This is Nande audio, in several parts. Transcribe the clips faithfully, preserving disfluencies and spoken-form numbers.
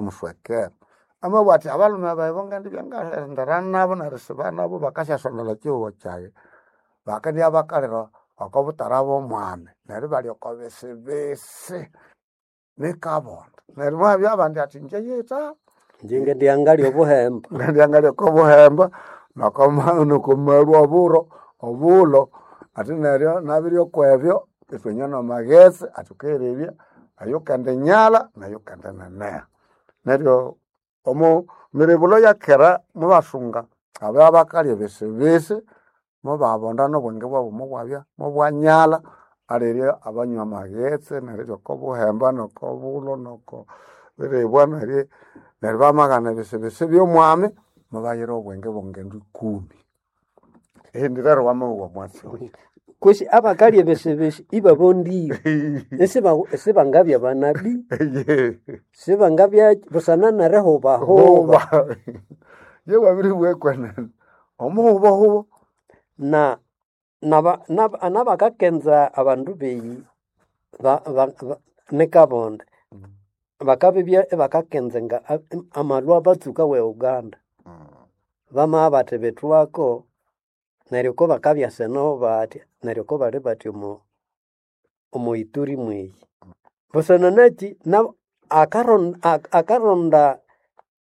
Muswekera amabugha athi abalhume bayi bongendibya ngalendera nabo nerisiba nabo bakasyasondolha ekyihugho kyayi bakendibya bakalira oko butara bw'omwami neryo ibalya oko bisibisi nikabonda neryo mwabya abandi athi ingye yita Inje ngendibya ngalya obuhemba. Ngendibya ngalya oko buhemba noko nokomalwa oburo obulho athi neryo nabirya okwebyo ithwinywa namaghetse athi wukayerebya ayukendinyalha nayukendineneha. Neryo omo miribulo yakera mubasunga ababya bakalya ebisibisi mubabonda nobwenge bwabu mubwabya mubwanyalha alirya abanywa amaghetse nerirya oko buhemba noko bulho noko biribwa neryo neryo bamaghana ebisibisi by'omwami mubayira obwenge bw'ongendu ikumi. Indi rero wamabugha omwatsi oyo. Kwesi abakalya ebisibisi ibabondire isiba isibangabya banabii sibangabya busana nerihubahuba Huba ye wabiribugha ekwenene omuhubahuba na naba naba nabakakenza abandu beyi ba- ba- ba- nikabonde bakabibya ibakakenza nga amalwa abatsuka we Uganda bamabya bathi bithwako neryo ko bakabya seno bathya neryo ko bali bathi omo omo Ituri mweyi. Busana nakyi nabo akaron akaronda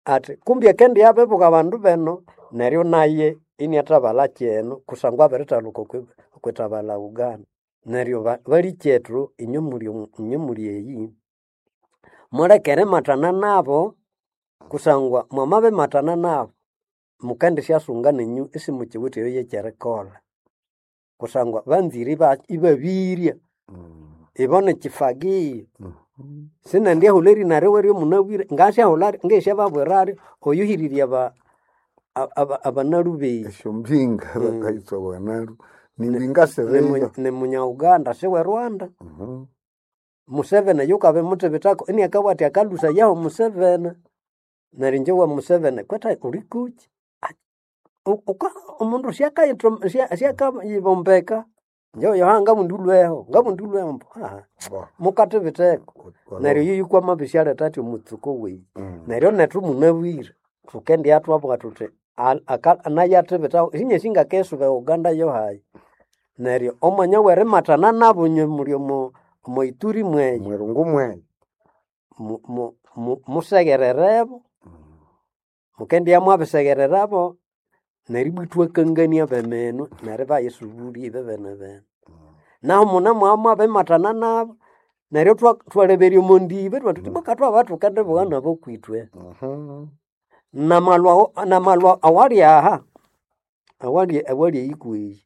athi kumbi akendiya abibuka abandu beno neryo naye iniathabalha kyeno kusangwa abirithaluka okwi okwithabalha Uganda. Neryo ba balikyethu inywe muli inywe muli eyi muleke erimathana nabo kusangwa mwamabimathana nabo mukendisyasunga nenyu isimukiwithe eyo yekyerikolha kusangwa banzire iba ibabirya ibo nikyifagio sinendyahulha erina riwe ryomunabwire ngasyahulha ngesyababwiraryo oyuhirirye aba aba- abanalhu beyi Esyombinga bakayitha banalu nimbinga siriyo nimunya Uganda siwe Rwanda. Museveni yukabimuthibithako iniakabugha athi akalhusayaho Museveni neryo inje wa Museveni kwetha ulikukyi omundu syakayibombeka inje oyo ngabundi ulhweho ngabundi ulhweho ambu mukathibitheko neryo oyu kwamabisyaletha athi omutsuko weyi neryo nethu munabwire thukendibya thwabugha thuthi nayo athibithaho isinyasi ngakisuba e Uganda yohayi neryo omwanya werimathana nabo inywe muli omo omo Ituri mweyi Mwirungu mweyi mu- mu- mu- museghererebo mukendibya mwabiseghererabo neryo ibwa ithwakangania beminwe neryo ibayisubulya ibibene bene. Nahu mune mwabya mwabimathana nabo neryo thwa- thwaleberya omo ndibi ithwathuthi ibwa thwabya thukendibugha nabo kwithwe. Namalwa namalwa awali aha awali awali eyi kweyi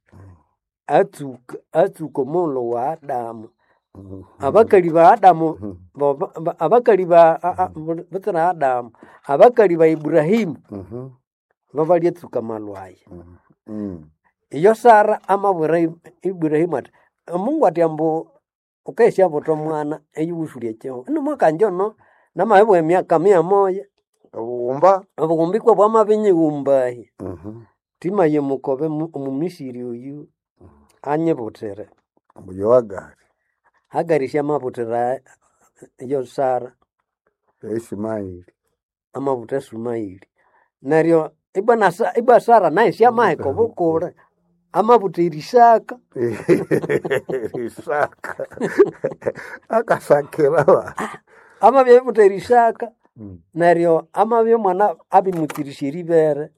atsuka atsuka omughulhu wa Adamu. Abakali ba Adamu bo- abakali ba butsira Adamu abakali ba Ibrahimu babalyatsuka amalwa aya. Iyo Sara amabwira Ibrahimu athi Mungu athi ambu wukayisyabutha omwana eyuwusulya ekyihugho inumwakangya ono namabibugha emyaka mia moya Obughumba obughumba ikwa bwamabinyighumbahi thimaye mukobe omumisiri oyu anyibuthire. Ambu yo Hagari Hagari syamabuthira yo Sara ya Ishimaeli amabutha Sumaili. Neryo ibwa na ibwa Sara nayo syamaheka obukule amabutha Isaka. Isaka akasakira ba Amabya abibutha Isaka neryo amabya omwana abimutsirisya eribere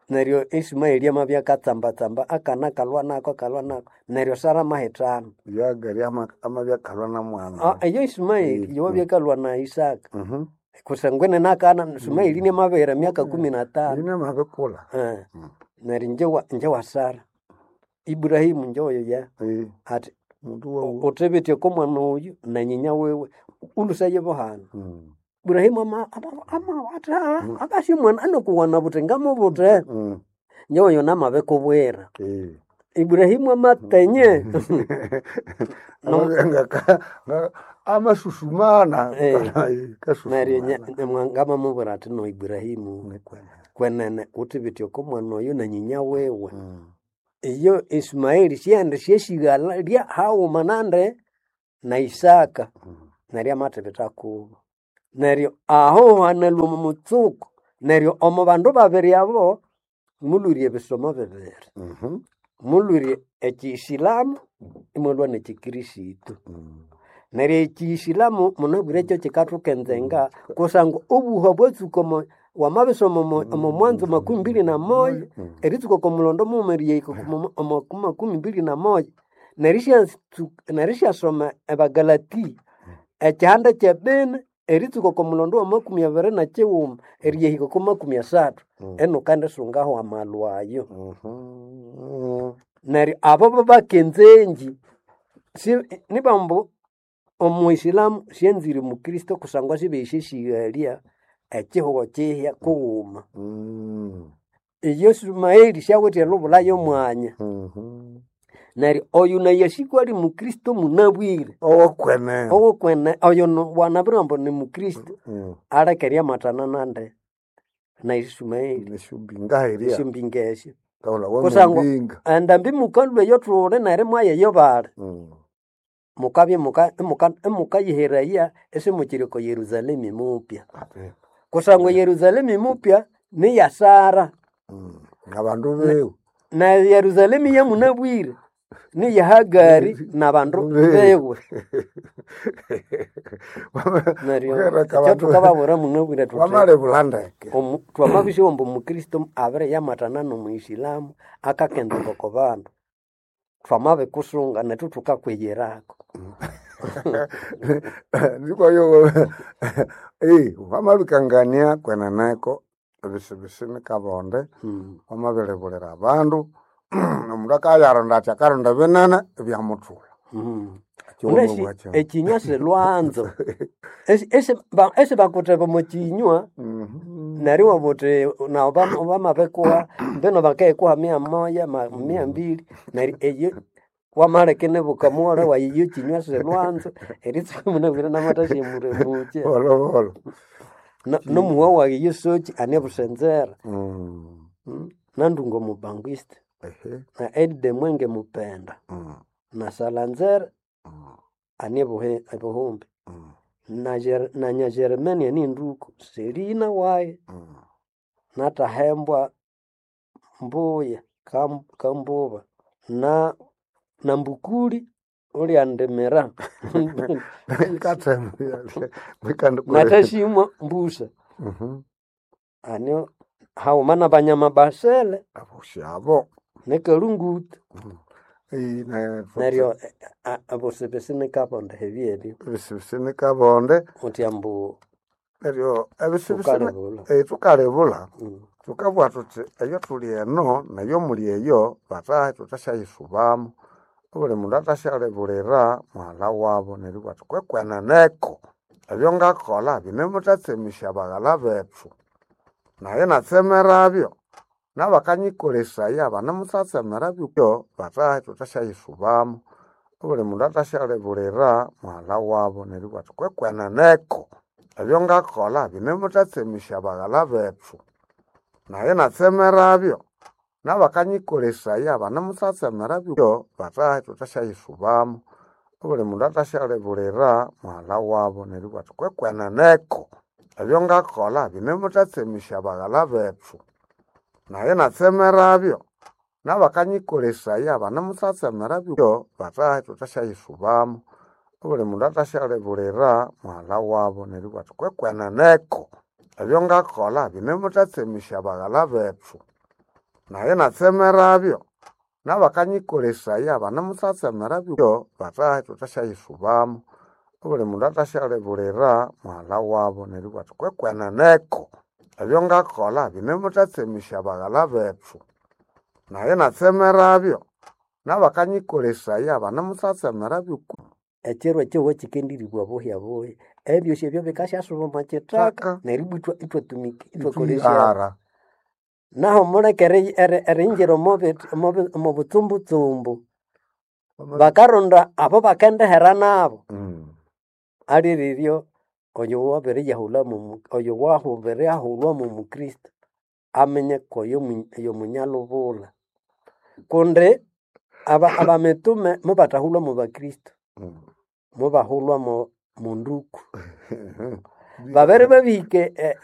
neryo Ismaeli amabya akatsambatsamba akana akalhwa nako akalhwa nako neryo Sara amahithana. Yo Hagari ama- amabya akalhwa na mwana Eyo Ismaeli yowabya akalhwa na Isaka kusangwa inene akana Ismaeli inamabihira emyaka kumi na tano. Ine amabikula Eh, neryo inje wa inje wa Sara Ibrahimu nje oyo ya Eh, athi mundu wawu uthibithe oko mwana oyu na nyinya wiwe ulhusaye buhana. Ibrahimu ama ama- ama athi "Ah, abasi omwana anokuwana buthi ngamubuthe nje oyo namabikubwira. Ibrahimu amatenye Amabya amasusumana Eh. Neryo kasusumana ngamamubwira athi no Ibrahimu Nikwenene. kwenene uthibithe oko mwana oyu na nyinya wiwe. Iyo Ismaeli syendi syesighalha lya haghuma nande na Isaka neryo amathibitha kubo. Neryo aho hanalwa omo mutsuko neryo omo bandu babiri abo mulwire ebisomo bibiri. Mhm. Mulwire ekiisilamu imwalwa n'ekikrisitu. Mm. Neryo ekiisilamu munabwire ekyo kikathukenzenga kusangwa obuha bwatsuka omo wamabisoma omo omo mwanzo makumi mbili na moja Mm. eritsuka oko mulondo mughuma erihika omo omo ku makumi mbili na moja nerishyatsu nerisyasoma Abagalatia ekihanda kyebini eritsuka oko mulondo wa makumi abiri na kighuma eriyahika oko makumi asathu Mm. enu ukandisungaho amalwa ayo. Mhm. Neryo abo babakenzengi si nibambu omuisilamu syanzire mukristo kusangwa sibesyesighalya ekihugho kihya kughuma. Mm. Iyo Sumaili syawithe elubula y'omwanya. Mhm. Neryo oyu naye asikwa ali mukristo munabwire Owokwene. owokwene oyo no- wanabirwa ambu ni mukristo Mm. aleke eryamatana nande na Isumaeli Neshumbinga eria. esyombinga esyo Kaula kusangwa wamumbinga. endambi mukalhwa eyo thuli neryo imwayeyo bali Mm. mukabya muka imuka- imukayiheraya isimukiri oko Yerusalemu mupya Ate. kusangwa Yerusalemu mupya niya Sara Mm. Ngabandu bewe. na Yerusalemu yamunabwire niya Hagari nabandu bewe neryo Ukereka ekyo abandu thukababwira munabwire thuthi wamalebula ndeke. omu- twamabisyowa ambu omukristo abiriyamatana n'omuyisilamu akakendera oko bandu twamabikusunga nethu thukakwiyirako Ndikoyo eh wamabikangania kweneneko ebisibisi nikabonde Mm. wamabiribulira abandu omundu akayaronda ati akaronda binene ebyamuthula Mm. Kiwuma Unasi bwakyo. ekinywa silwanzo Esi- esi- ba- esibakutheba omo kinywa Mhm. neryo iwabugha wuthi nawu bamabikuha mbino bakayikuha mia moja ma- mia mbili neryo eyo wamaleka inibuka mughala wayi iyo kinywa silwanzo eritsuka munabwire namathasyamuramukya Bolobolo. Na- nomuhwa wayi yosoki ane busenzera Mm. Mm. Nandunga omubangwista Ehe. na Edde Mwenge Mupenda Mm. na Salanzera Mm. ane buhe- ebuhumbi Mm. na Jer- na Nyageremania ninduku Selina wayi Mm. natahembwa Mbuya Kam- Kambuba na na Mbukuli ulyandimira Ikathema mikandikore. natashimwa Mbusa Mhm. ani hauma na banyama basele Aboshi abo. nekalunguta Eh, na- neryo abosebese nikabonda hebyebyo ebisibisi nikabonde uthi ambu neryo ebisibisi ukalebula eh, tukalebula Mm. tukabugha thuthi eyo thuli eno neyo muli eyo batahe thuthasyayisubamu obuli mundu athasyalebulira mughalha wabo neryo ibabugha athi kwekweneneko ebyo ngakolha binemuthatsemisya baghalha bethu naye natsemerabyo nabakanyikolesaya banemuthatsemerabyo batahe thuthasyayisubamu obuli mundu athasyalebulira mughalha wabo neryo ibabugha athi kwekweneneko ebyo ngakolha binemuthatsemisya baghalha bethu naye natsemerabyo nabakanyikolesaya banemuthatsemerabyo batahe thuthasyayisubamu obuli mundu athasyalebulira mughalha wabo neryo ibabugha athi kwekweneneko ebyo ngakolha binemuthatsemisya baghalha bethu naye natsemerabyo nabakanyikolesaya banemuthatsemerabyo batahe thuthasyayisubamu obuli mundu athasyalebulira mughalha wabo neryo ibabugha athi kwekweneneko ebyo ngakolha binemuthatsemisya baghalha bethu naye natsemerabyo nabakanyikolesaya banemuthatsemerabyo batahe thuthasyayisubamu obuli mundu athasyalebulira mughalha wabo neryo ibabugha athi kwekweneneko ebyo ngakolha binemuthatsemisya baghalha bethu naye natsemerabyo nabakanyikolesaya banemuthatsemerabyo Ekiro ekihugho kikendiribwa buhya buhya ebyosi ebyo bikasyasuba omo kithaka Taka. neryo ibwa ithwa- ithwatumika ithwakolesya itwihara naho muleke eri- eri- eringira omo bithi- omo bi- omo butsumbutsumbu bakaronda abo bakendihera nabo Mm. aliriryo oyo wabiriyahulha mu oyo wabiriyahulhwa mu mukristo aminye koyo mu- oyo munyalubula kundi aba abamitume mubathahulhwa mu bakristo Mm. mubahulhwa mu munduku Babere babihike eh,